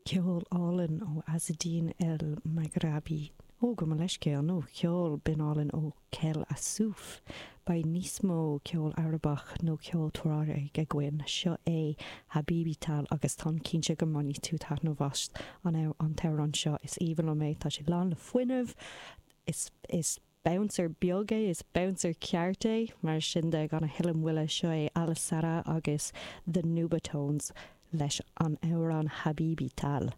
Ceol álainn ó Azedine El Maghrabi. Ó, gabh mo leithscéal, nó ceol binn álainn ó Kel Assouf. Beidh níos mó ceol Arabach nó ceol Tuareg againn. Seo é Habibi Tal agus táim cinnte go mbainfidh tú taitneamh as an t-amhrán seo. Is aoibhinn liom é, tá sé lán le fuinneamh, is, is bouncer beag é, is bouncer ceart é. Mar sin de, gan a thuilleadh moille, seo é Alissara agus The Nubatones leis an amhrán Habibi Tal.